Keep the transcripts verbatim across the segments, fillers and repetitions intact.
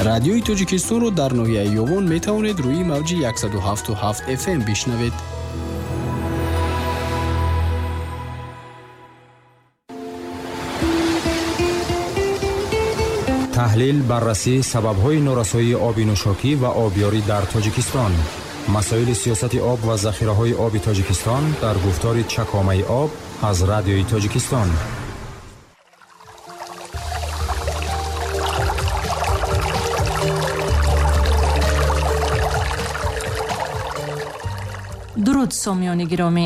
Радиои Тоҷикистонро дар ноҳияи Ёвон метавонед рӯи мавҷи яксаду ҳафту ҳафт эф эм бишнавед. Таҳлил, баррасӣ сабабҳои норасоии оби нӯшокӣ ва обёрӣ дар Тоҷикистон. Масоили сиёсати об ва захираҳои оби Тоҷикистон дар гуфтори Чакомаи об аз Радиои Тоҷикистон. Дуруд, сомиёни гиромӣ!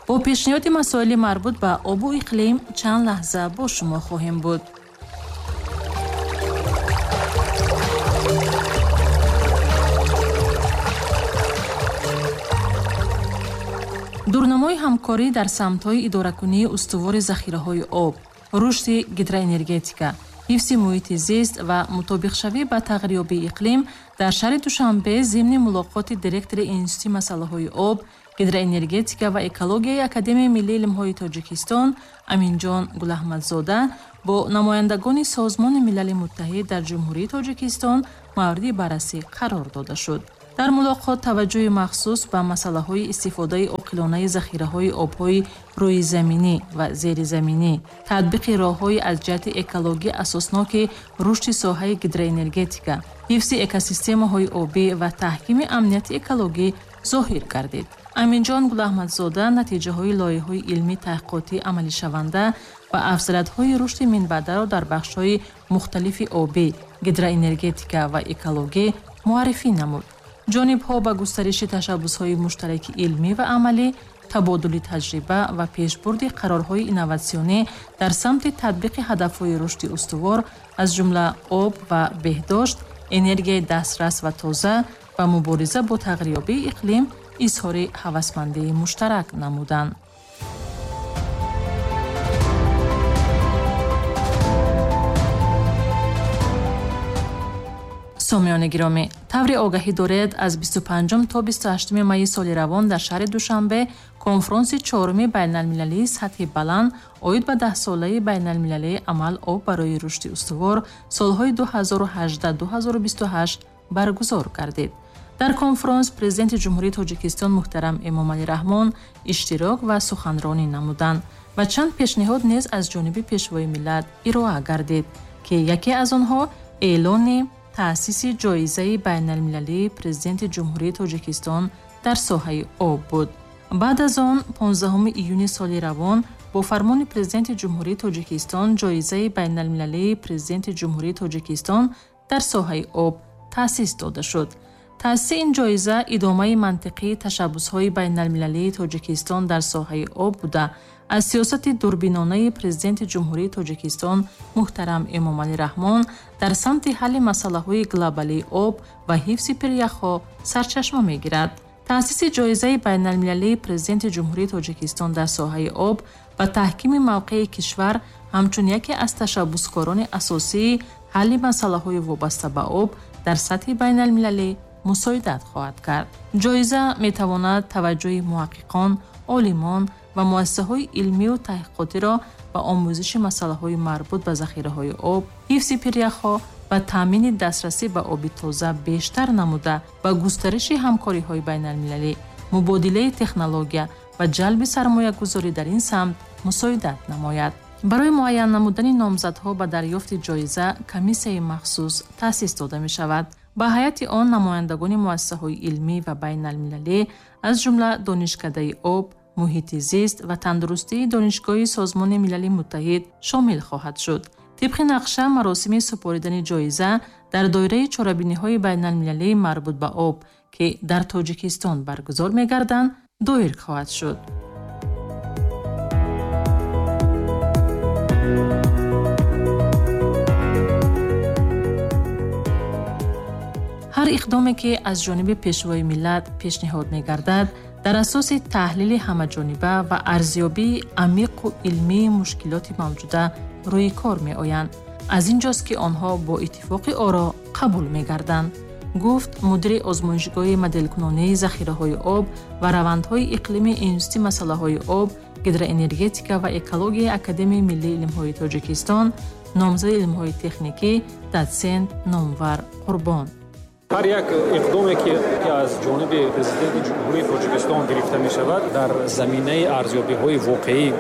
Бо пешниҳоди масоили марбут ба обу иқлим чанд лаҳза бо шумо хоҳем буд. Дурнамои ҳамкорӣ дар самтҳои идоракунии устувори захираҳои об, рушди гидроэнергетика, ҳифзи муҳити зист ва мутобиқшавӣ ба тағйирёбии иқлим дар шаҳри Душанбе зимни мулоқоти директори Институти масъалаҳои об, гидроэнергетика ва экологияи Академияи миллии илмҳои Тоҷикистон Аминҷон Гулаҳмадзода бо намояндагони Созмони Милали Муттаҳид дар Ҷумҳурии Тоҷикистон мавриди баррасӣ қарор дода шуд. Дар мулоқот таваҷҷӯҳи махсус ба масъалаҳои истифодаи оқилонаи захираҳои обҳои рӯизаминӣ ва зеризаминӣ, татбиқи роҳҳои аз ҷиҳати экологӣ асосноки рушди соҳаи гидроэнергетика, ҳифзи экосистемаҳои обӣ ва таҳкими амнияти экологӣ зоҳир гардид. Аминҷон Гулаҳмадзода натиҷаҳои лоиҳаҳои илмӣ таҳқиқотӣ амалишаванда ва афзалиятҳои рушди минбаъдаро дар бахшҳои мухталифи обӣ, гидроэнергетика ва экологӣ муаррифӣ намуд. Ҷонибҳо ба густариши ташаббусҳои муштараки илмӣ ва амалӣ, табодули таҷриба ва пешбурди қарорҳои инноватсионӣ дар самти татбиқи ҳадафҳои рушди устувор, аз ҷумла об ва беҳдошт, энергияи дастрас ва тоза ва мубориза бо тағйирёбии иқлим изҳори ҳавасмандии муштарак намуданд. Сомиёни гиромӣ, таври огаҳӣ доред, аз бисту панҷум то бисту ҳаштуми майи соли равон дар шаҳри Душанбе конфронси чоруми байналмилалии сатҳи баланд оид ба даҳсолаи байналмилалии амал об барои рушди устувор солҳои ду ҳазору ҳаждаҳ ду ҳазору бисту ҳашт баргузор гардид. Дар конфронс президенти Ҷумҳурии Тоҷикистон муҳтарам Эмомалӣ Раҳмон иштирок ва суханронӣ намуданд ва чанд пешниҳод низ аз ҷониби пешвои миллат ироа гардид, ки яке аз онҳо эълони таъсиси ҷоизаи байналмилалии президенти Ҷумҳурии Тоҷикистон дар соҳаи об буд. Баъд аз он понздаҳуми июни соли равон бо фармони президенти Ҷумҳурии Тоҷикистон ҷоизаи байналмилалии президенти Ҷумҳурии Тоҷикистон дар соҳаи об таъсис дода шуд. Таъсиси ин ҷоиза идомаи мантиқии ташаббусҳои байналмилалии Тоҷикистон дар соҳаи об буда, аз сиёсати дурбинонаи президенти Ҷумҳурии Тоҷикистон муҳтарам Эмомалӣ Раҳмон дар самти ҳалли масъалаҳои глобалии об ва ҳифзи пиряхҳо сарчашма мегирад. Таъсиси ҷоизаи байналмилалии президенти Ҷумҳурии Тоҷикистон дар соҳаи об ба таҳкими мавқеи кишвар ҳамчун яке аз ташаббускорони асосии ҳалли масъалаҳои вобаста ба об дар сатҳи байналмилалӣ мусоидат хоҳад кард. Ҷоиза метавонад таваҷҷӯҳи муҳаққиқон, олимон ва муассисаҳои илмию таҳқиқотиро ба омӯзиши масъалаҳои марбут ба захираҳои об, ҳифзи пиряхҳо ва таъмини дастрасӣ ба оби тоза бештар намуда, ба густариши ҳамкориҳои байналмилалӣ, мубодилаи технология ва ҷалби сармоягузорӣ дар ин самт мусоидат намояд. Барои муайян намудани номзадҳо ба дарёфти ҷоиза комиссияи махсус таъсис дода мешавад. Ба ҳайати он намояндагони муассисаҳои илмӣ ва байналмилалӣ, аз ҷумла Донишкадаи об, муҳити зист ва тандурустии Донишгоҳи Созмони Милали Муттаҳид шомил хоҳад шуд. Тибқи нақша, маросими супоридани ҷоиза дар доираи чорабиниҳои байналмилалии марбут ба об, ки дар Тоҷикистон баргузор мегарданд, доир хоҳад шуд. Ҳар иқдоме, ки аз ҷониби пешвои миллат пешниҳод мегардад, дар асоси таҳлили ҳамаҷониба ва арзёбии амиқу илмии мушкилоти мавҷуда рӯи кор меоянд. Аз ин ҷост, ки онҳо бо иттифоқи оро қабул мегарданд, гуфт мудири озмоишгоҳи моделкунонии захираҳои об ва равандҳои иқлими Институти масъалаҳои об, гидроэнергетика ва экологияи Академияи миллии илмҳои Тоҷикистон, Номзади илмҳои техникӣ, дотсент Номвар Қурбон. Ҳар як иқдоме ки аз ҷониби президенти Ҷумҳурии Тоҷикистон гирифта мешавад, дар заминаи арзёбиҳои воқеии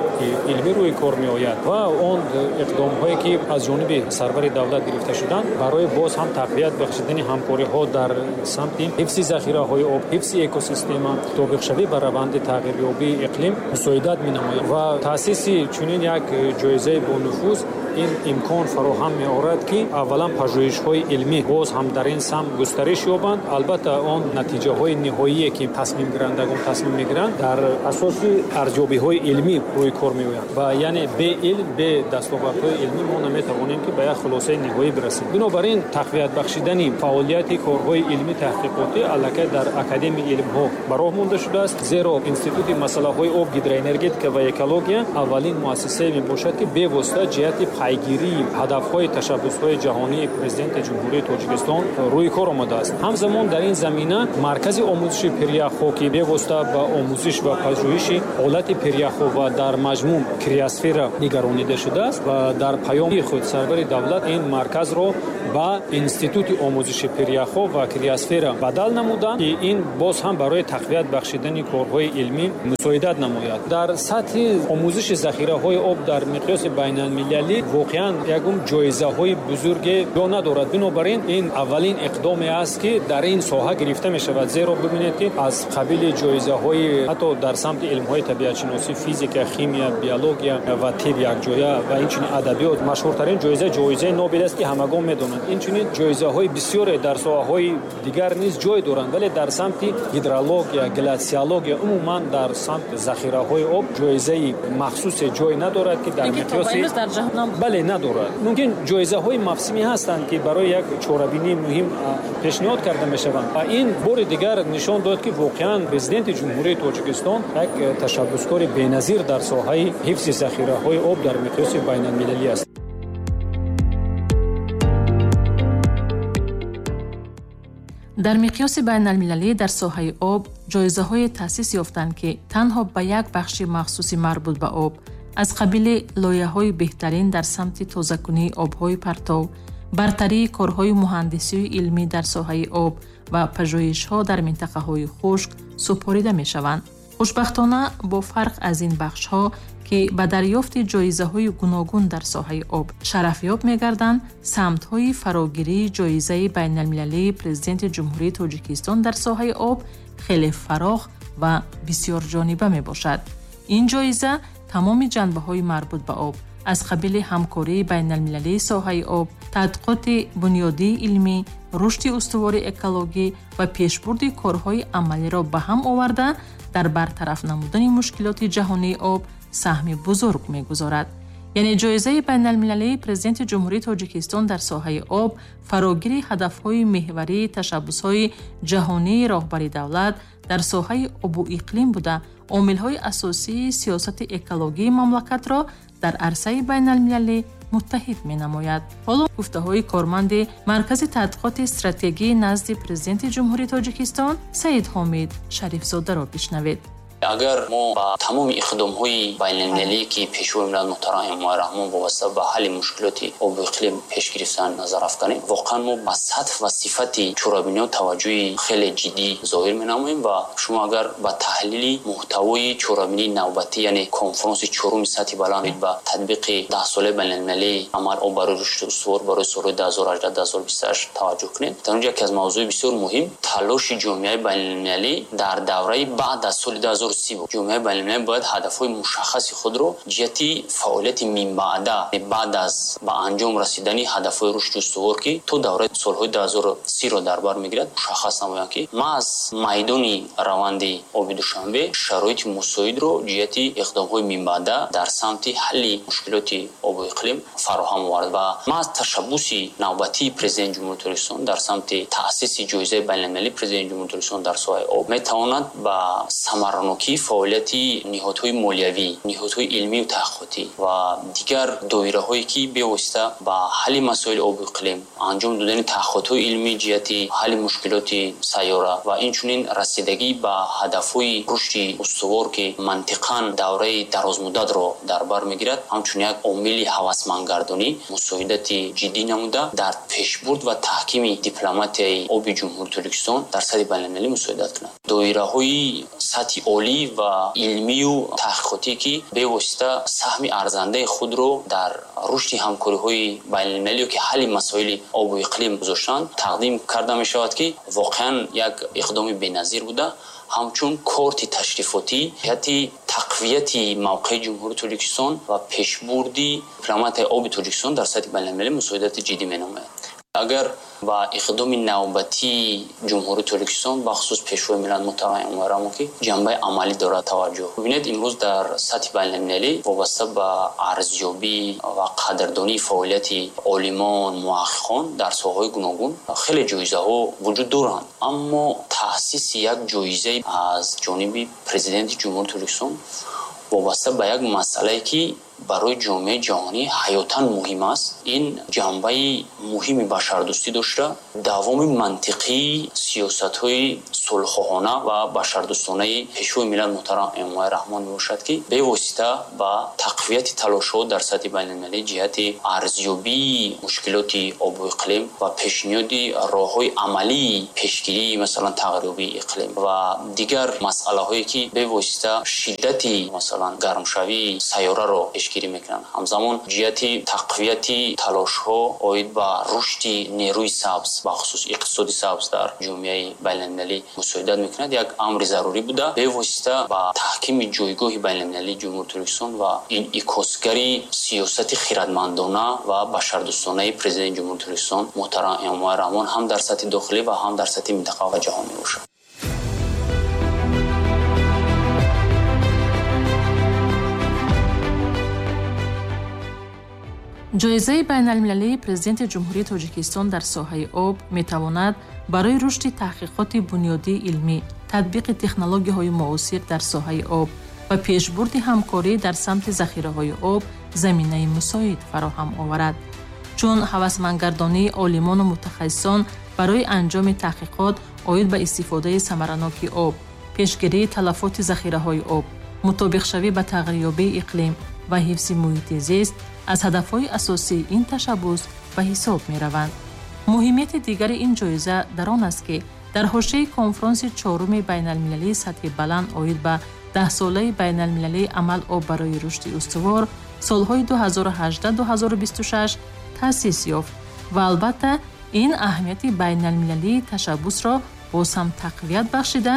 илмӣ рӯи кор меояд ва он иқдомҳое ки аз ҷониби сарвари давлат гирифта шуданд, барои боз ҳам тақвият бахшидани ҳамкориҳо дар самти ҳифзи захираҳои об, ҳифзи экосистема, мутобиқшавӣ ба раванди тағйирёбии иқлим мусоидат менамояд ва таъсиси чунин як ҷоизаи бонуфуз ин имкон фароҳам меорад, ки аввалан пажӯҳишҳои илмӣ боз ҳам дар ин самт густариш ёбанд. Албатта, он натиҷаҳои ниҳоие ки тасмимгирандагон тасмим мегиранд, дар асоси арзёбиҳои илмӣ рӯи кор меоянд ва яъне бе илм, бе дастовардҳои илмӣ мо наметавонем ки ба як хулосаи ниҳоӣ бирасем. Бинобар ин тақвият бахшидани фаъолияти корҳои илмӣ таҳқиқотӣ аллакай дар Академияи илмҳо ба роҳ монда шудааст, зеро Институти масъалаҳои об, гидроэнергетика ва экология аввалин муассисае мебошад, ки бевосита ҷиҳати пайгирии ҳадафҳои ташаббусҳои ҷаҳонии Президенти Ҷумҳурии Тоҷикистон рӯи кор омадааст. Ҳамзамон дар ин замина маркази омӯзиши пиряхҳо, ки бевосита ба омӯзиш ва пажӯҳиши ҳолати пиряхҳо ва дар маҷмӯъ криосфера нигаронида шудааст ва дар паёми худ сарвари давлат ин марказро ба Институти омӯзиши пиряхҳо ва криосфера бадал намуданд, ки ин боз ҳам барои тақвият бахшидани корҳои илмӣ мусоидат намояд. Дар сатҳи омӯзиши захираҳои об дар миқёси байналмилалӣ воқеан ягон ҷоизаҳои бузурге ҷо надорад. Бинобар ин ин аввалин иқдоме аст, ки дар ин соҳа гирифта мешавад, зеро бибинед, ки аз қабили ҷоизаҳои ҳатто дар самти илмҳои табиатшиносӣ, физика, химия, биология ва тиб якҷоя ва инчунин адабиёт машҳуртарин ҷоиза ҷоизаи Нобел аст, ки ҳамагон медонанд. Инчунин ҷоизаҳои бисёре дар соҳаҳои дигар низ ҷой доранд, вале дар самти гидрология, гласиология, умуман дар самти захираҳои об ҷоизаи махсусе ҷой надорад, ки дар миқёси бале надорад. Мумкин ҷоизаҳои мавсимӣ ҳастанд, ки барои як чорабинии муҳим пешниҳод карда мешаванд ва ин бори дигар нишон дод, ки воқеан Президенти Ҷумҳурии Тоҷикистон як ташаббускори беназир дар соҳаи ҳифзи захираҳои об дар миқёси байналмилалӣ аст. Дар миқёси байналмилалӣ дар соҳаи об ҷоизаҳое таъсис ёфтанд, ки танҳо ба як бахши махсуси марбут ба об, аз қабили лоиҳаҳои беҳтарин дар самти тозакунии обҳои партов, бартарии корҳои муҳандисию илмӣ дар соҳаи об ва пажӯҳишҳо дар минтақаҳои хушк супорида мешаванд. Хушбахтона, бо фарқ аз ин бахшҳо, ки ба дарёфти ҷоизаҳои гуногун дар соҳаи об шарафёб мегарданд, самтҳои фарогирии ҷоизаи байналмилалии Президенти Ҷумҳурии Тоҷикистон дар соҳаи об хеле фарох ва бисёрҷониба мебошад. Ин ҷоиза тамоми ҷанбаҳои марбут ба об, аз қабили ҳамкории байналмилалии соҳаи об, тадқиқоти бунёдии илмӣ, рушди устувори экологӣ ва пешбурди корҳои амалиро ба ҳам оварда, дар бартараф намудани мушкилоти ҷаҳонии об саҳми бузург мегузорад. Яъне ҷоизаи байналмилалии Президенти Ҷумҳурии Тоҷикистон дар соҳаи об фарогири ҳадафҳои меҳварии ташаббусҳои ҷаҳонии роҳбари давлат дар соҳаи обу иқлим буда, омилҳои асосии сиёсати экологии мамлакатро дар арсаи байналмилалӣ муттаҳид менамояд. Ҳоло гуфтаҳои корманди Маркази тадқиқоти стратегии назди Президенти Ҷумҳурии Тоҷикистон Саид Ҳомид Шарифзодаро бишнавед. Агар мо ба тамоми иқдомҳои байналмилалие, ки Пешвои миллат муҳтарам Эмомалӣ Раҳмон вобаста ба ҳалли мушкилоти обу иқлим пеш гирифтан назар афканем, воқеан мо ба сатҳ ва сифати чорабиниҳо таваҷҷӯҳи хеле ҷиддӣ зоҳир менамоем ва шумо агар ба таҳлили муҳтавои чорабинии навбатӣ, яъне конфронси чоруми сатҳи баланд ба татбиқи даҳсолаи байналмилалии амал об барои рушди устувор барои солҳои ду ҳазору ҳаждаҳ ду ҳазору бисту ҳашт таваҷҷӯҳ кунед, дар он ҷо яке аз мавзӯи бисёр муҳим талоши ҷомеаи байналмилалӣ дар давраи баъд аз соли ду ҳазору ҷомеаи байналмилалӣ бояд ҳадафҳои мушаххаси худро ҷиҳати фаъолияти минбаъда, баъд аз ба анҷом расидани ҳадафҳои рушди устувор, ки то давраи солҳои ду ҳазору сиро дар бар мегирад, мушаххас намоянд, ки маҳз майдони раванди оби Душанбе шароити мусоидро ҷиҳати иқдомҳои минбаъда дар самти ҳалли мушкилоти обу иқлим фароҳам овард ва маҳз ташаббуси навбатии Президенти Ҷумҳурии Тоҷикистон дар самти таъсиси ҷоизаи байналмилалии Президенти Ҷумҳурии Тоҷикистон дар соҳаи об метавонад ба самаранокӣ Самаранокии фаъолияти ниҳодҳои молиявӣ, ниҳодҳои илмию таҳқиқотӣ ва дигар доираҳое, ки бевосита ба ҳалли масоили обу иқлим, анҷом додани таҳқиқотҳои илмии ҷиҳати ҳалли мушкилоти сайёра ва инчунин расидагӣ ба ҳадафҳои рушди устувор, ки мантиқан давраи дарозмуддатро дар бар мегирад, ҳамчун як омили ҳавасмандгардонӣ мусоидати ҷиддӣ намуда дар пешбурд ва таҳкими дипломатияи оби Ҷумҳурии Тоҷикистон дар сатҳи байналмилалӣ мусоидат кунад. Доираҳои сатҳи олӣ ва илмию таҳқиқотӣ, ки бевосита саҳми арзандаи худро дар рушди ҳамкориҳои байналмилалӣ ё ки ҳалли масоили обу иқлим гузоштанд, тақдим карда мешавад, ки воқеан як иқдоми беназир буда, ҳамчун корти ташрифотӣ ҷиҳати тақвияти мавқеи Ҷумҳурии Тоҷикистон ва пешбурди дипломатияи оби Тоҷикистон дар сатҳи байналмилалӣ мусоидати ҷиддӣ менамояд. Агар ба иқдоми навбатии Ҷумҳурии Тоҷикистон, бахусус Пешвои миллат муҳтарам Эмомалӣ Раҳмон, ки ҷанбаи амалӣ дорад, таваҷҷӯҳ бибинед, имрӯз дар сатҳи байналмилалӣ вобаста ба арзёбӣ ва қадрдонии фаъолияти олимон, муҳаққиқон дар соҳаҳои гуногун хеле ҷоизаҳо вуҷуд доранд. Аммо таъсиси як ҷоиза аз ҷониби Президенти Ҷумҳурии Тоҷикистон вобаста ба як масъалае, ки барои ҷомеаи ҷаҳонӣ ҳаётан муҳим аст, ин ҷанбаи муҳими башардӯстӣ дошта, давоми мантиқии сиёсатҳои сулҳхоҳона ва башардӯстонаи Пешвои миллат муҳтарам Эмомалӣ Раҳмон мебошад, ки бевосита ба тақвияти талошҳо дар сатҳи байналмилалӣ ҷиҳати арзёбии мушкилоти обу иқлим ва пешниҳоди роҳҳои амалии пешгирии масалан тағйирёбии иқлим ва дигар масъалаҳое, ки бевосита шиддати масалан гармшавии сайёраро пешгирӣ мекунанд. Ҳамзамон ҷиҳати тақвияти талошҳо оид ба рушди нерӯи сабз, бахусус иқтисоди сабз дар ҷомеаи байналмилалӣ мусоидат мекунад, як амри зарурӣ буда, бевосита ба таҳкими ҷойгоҳи байналмилалии Ҷумҳурии Тоҷикистон ва инъикосгари сиёсати хирадмандона ва башардӯстонаи Президенти Ҷумҳурии Тоҷикистон муҳтарам Эмомалӣ Раҳмон ҳам дар сатҳи дохилӣ ва ҳам дар сатҳи минтақа ва ҷаҳон мебошад. Ҷоизаи байналмилалии Президенти Ҷумҳурии Тоҷикистон дар соҳаи об метавонад барои рушди таҳқиқоти бунёдии илмӣ, татбиқи технологияҳои муосир дар соҳаи об ва пешбурди ҳамкорӣ дар самти захираҳои об заминаи мусоид фароҳам оварад. Чун ҳавасмандгардонии олимону мутахассисон барои анҷоми таҳқиқот оид ба истифодаи самараноки об, пешгирии талафоти захираҳои об, мутобиқшавӣ ба тағйирёбии иқлим ва ҳифзи муҳити зист аз ҳадафҳои асосии ин ташаббус ба ҳисоб мераванд. Муҳимияти дигари ин ҷоиза дар он аст, ки дар ҳошияи конфронси чоруми байналмилалии сатҳи баланд оид ба даҳсолаи байналмилалии амал об барои рушди устувор солҳои ду ҳазору ҳаждаҳ ду ҳазору бисту шаш таъсис ёфт ва албатта ин аҳамияти байналмилалии ташаббусро боз ҳам тақвият бахшида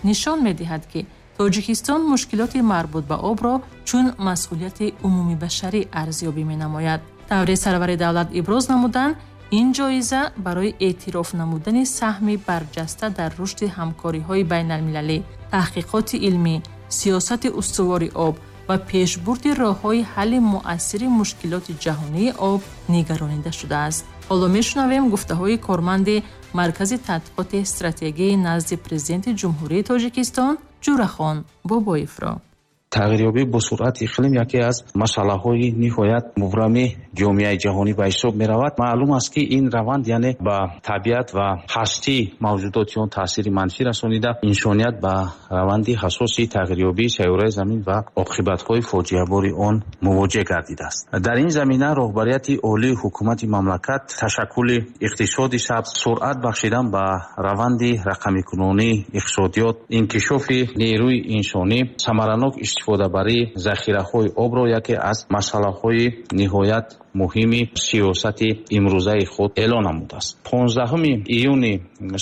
нишон медиҳад, ки Тоҷикистон мушкилоти марбут ба обро чун масъулияти умумибашарӣ арзёбӣ менамояд. Тавре сарвари давлат иброз намуданд, ин ҷоиза барои эътироф намудани саҳми барҷаста дар рушди ҳамкориҳои байналмилалӣ, таҳқиқоти илмӣ, сиёсати устувори об ва пешбурди роҳҳои ҳалли муассири мушкилоти ҷаҳонии об нигаронида шудааст. Ҳоло мешунавем гуфтаҳои корманди Маркази тадқиқоти стратегии назди Президенти Ҷумҳурии Тоҷикистон Ҷурахон Бобоевро. Тағйирёбӣ бо суръати иқлим яке аз масъалаҳои ниҳоят мубрами ҷомеаи ҷаҳонӣ ба ҳисоб меравад. Маълум аст, ки ин раванд яъне ба табиат ва ҳастии мавҷудоти он таъсири манфӣ расонида, инсоният ба раванди ҳассоси тағйирёбии сайёраи замин ва оқибатҳои фоҷиабори он мувоҷеҳ гардидааст. Дар ин замина роҳбарияти олии ҳукумати мамлакат ташаккули иқтисоди сабз, суръат бахшидан ба раванди рақамикунонии иқтисодиёт, инкишофи нерӯи инсонӣ, самаранок истифодабарии захираҳои обро яке аз масъалаҳои ниҳоят муҳими сиёсати имрӯзаи худ эълон намудааст. понздаҳуми июни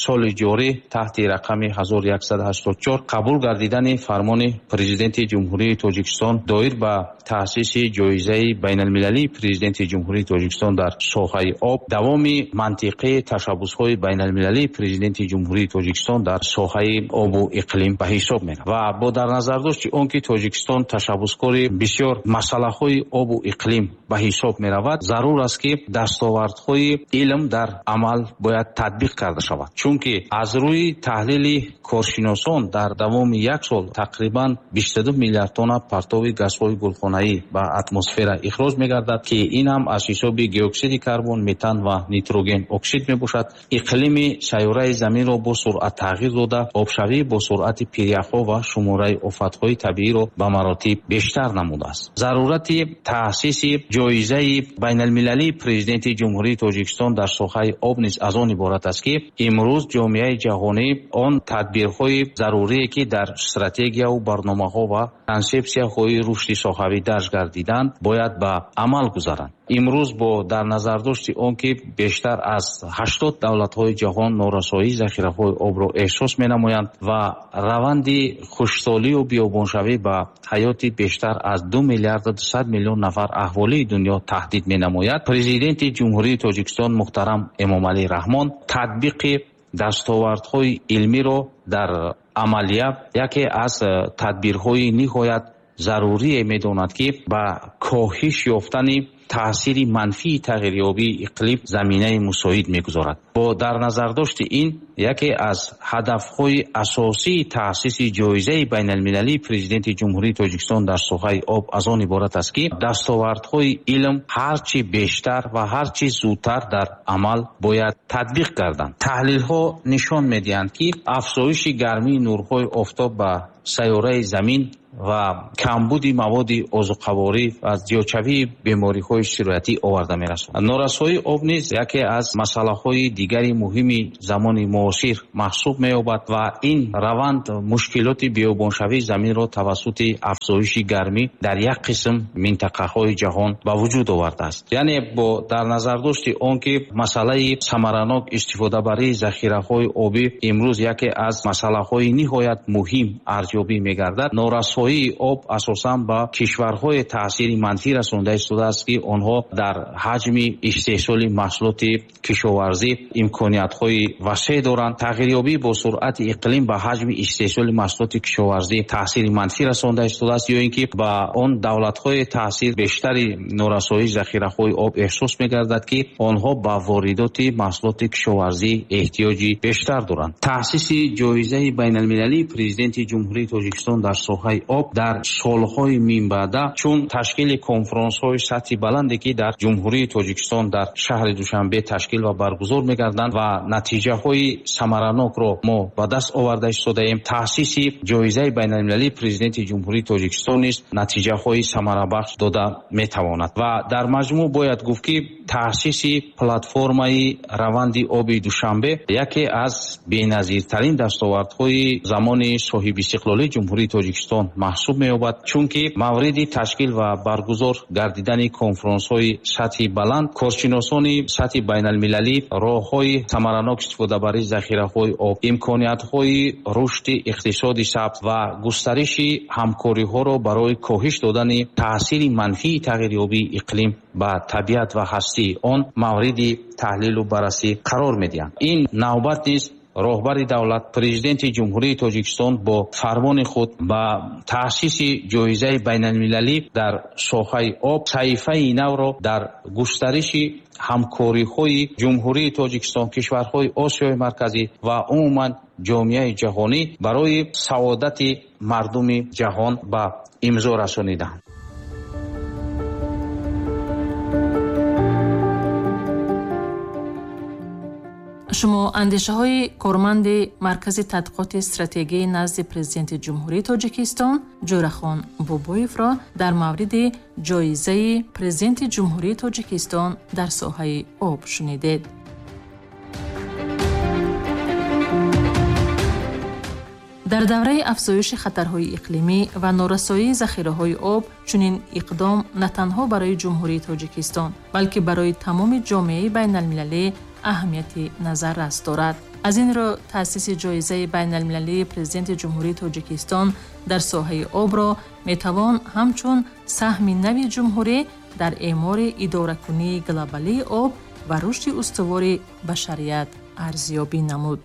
соли ҷорӣ таҳти рақами ҳазору яксаду ҳаштоду чор қабул гардидани фармони Президенти Ҷумҳурии Тоҷикистон доир ба таъсиси ҷоизаи байналмилалии Президенти Ҷумҳурии Тоҷикистон дар соҳаи об давоми мантиқии ташаббусҳои байналмилалии Президенти Ҷумҳурии Тоҷикистон дар соҳаи обу иқлим ба ҳисоб меравад ва бо дар назардошти он ки Тоҷикистон ташаббускори бисёр масъалаҳои обу иқлим ба ҳисоб меравад, меравад, зарур аст, ки дастовардҳои илм дар амал бояд татбиқ карда шавад. Чунки аз рӯи таҳлили коршиносон дар давоми як сол тақрибан бисту ду миллиард тонна партови газҳои гулхонаӣ ба атмосфера ихроҷ мегардад, ки ин ҳам аз ҳисоби диоксиди карбон, метан ва нитроген оксид мебошад. Иқлими сайёраи заминро бо суръат тағйир дода, обшавӣ бо суръати пиряхҳо ва шумораи офатҳои табииро ба маротиб бештар намудааст. Зарурати таъсиси ҷоизаи байналмилалии Президенти Ҷумҳурии Тоҷикистон дар соҳаи об низ аз он иборат аст, ки имрӯз ҷомеаи ҷаҳонӣ он тадбирҳои зарурие, ки дар стратегияву барномаҳо ва консепсияҳои рушди соҳавӣ дарҷ гардиданд, бояд ба амал гузаранд. Имрӯз бо дар назардошти он, ки бештар аз ҳаштод давлатҳои ҷаҳон норасоии захираҳои обро эҳсос менамоянд ва раванди хушксолию биёбоншавӣ ба ҳаёти бештар аз ду миллиарду дусад миллион нафар аҳолии дунё таҳдид менамояд, Президенти Ҷумҳурии Тоҷикистон муҳтарам Эмомалӣ Раҳмон татбиқи дастовардҳои илмиро дар амалия яке аз тадбирҳои ниҳоят зарурие медонад, ки ба коҳиш ёфтани таъсири манфии тағйирёбии иқлим заминаи мусоид мегузорад. Бо дар назардошти ин яке аз ҳадафҳои асосии таъсиси ҷоизаи байналмилалии Президенти Ҷумҳурии Тоҷикистон дар соҳаи об аз он иборат аст, ки дастовардҳои илм ҳарчи бештар ва ҳарчи зудтар дар амал бояд татбиқ гарданд. Таҳлилҳо нишон медиҳанд, ки афзоиши гармии нурҳои офтоб ба сайёраи замин ва камбуди маводи озуқаворӣ ва зиёдшавии бемориҳои сироятӣ оварда мерасонад. Норасоии об низ яке аз масъалаҳои дигари муҳими замони муосир маҳсуб меёбад ва ин раванд мушкилоти биёбоншавии заминро тавассути афзоиши гармӣ дар як қисм минтақаҳои ҷаҳон ба вуҷуд овардааст. Яъне бо дар назардошти он, ки масъалаи самаранок истифодабарии захираҳои обӣ имрӯз яке аз масъалаҳои ниҳоят муҳим арзёбӣ мегардад, норасоии об асосан ба кишварҳои таъсири манфӣ расонда истодааст, ки онҳо дар ҳаҷми истеҳсоли маҳсулоти кишоварзӣ имкониятҳои васеъ доранд. Тағйирёбӣ бо суръати иқлим ба ҳаҷми истеҳсоли маҳсулоти кишоварзӣ таъсири манфӣ расонда истодааст, ё ин ки ба он давлатҳои таъсир бештари норасоии захираҳои об эҳсос мегардад, ки онҳо ба воридоти маҳсулоти кишоварзӣ эҳтиёҷи бештар доранд. Таъсиси ҷоизаи байналмилалии Президенти Ҷумҳурии Тоҷикистон дар соҳаи об дар солҳои минбаъда чун ташкили конфронсҳои сатҳи баланде, ки дар Ҷумҳурии Тоҷикистон дар шаҳри Душанбе ташкил ва баргузор мегарданд ва натиҷаҳои самаранокро мо ба даст оварда истодаем, таъсиси ҷоизаи байналмилалии Президенти Ҷумҳурии Тоҷикистон низ натиҷаҳои самарабахш дода метавонад. Ва дар маҷмӯъ бояд гуфт, ки таъсиси платформаи раванди оби Душанбе яке аз беназиртарин дастовардҳои замони соҳибистиқлолии Ҷумҳурии Тоҷикистон маҳсуб меёбад, чунки мавриди ташкил ва баргузор гардидани конфронсҳои сатҳи баланд коршиносони сатҳи байналмилалӣ роҳҳои самаранок истифодабарии захираҳои об, имкониятҳои рушди иқтисоди сабз ва густариши ҳамкориҳоро барои коҳиш додани таъсири манфии тағйирёбии иқлим ба табиат ва ҳастии он мавриди таҳлилу баррасӣ қарор медиҳанд. Ин навбат низ роҳбари давлат, Президенти Ҷумҳурии Тоҷикистон бо фармони худ ба таъсиси ҷоизаи байналмилалӣ дар соҳаи об саҳифаи навро дар густариши ҳамкориҳои Ҷумҳурии Тоҷикистон, кишварҳои Осиёи Марказӣ ва умуман ҷомеаи ҷаҳонӣ барои саодати мардуми ҷаҳон ба имзо расониданд. Шумо андешаҳои корманди Маркази тадқиқоти стратегии назди Президенти Ҷумҳурии Тоҷикистон Ҷӯрахон Бобоевро дар мавриди ҷоизаи Президенти Ҷумҳурии Тоҷикистон дар соҳаи об шунидед. Дар давраи афзоиши хатарҳои иқлимӣ ва норасоии захираҳои об чунин иқдом на танҳо барои Ҷумҳурии Тоҷикистон, балки барои тамоми ҷомеаи байналмилалӣ аҳамияти назаррас дорад. Аз ин рӯ таъсиси ҷоизаи байналмилалии Президенти Ҷумҳурии Тоҷикистон дар соҳаи обро метавон ҳамчун саҳми нави ҷумҳурӣ дар эъмори идоракунии глобалии об ва рушди устувори башарият арзёбӣ намуд.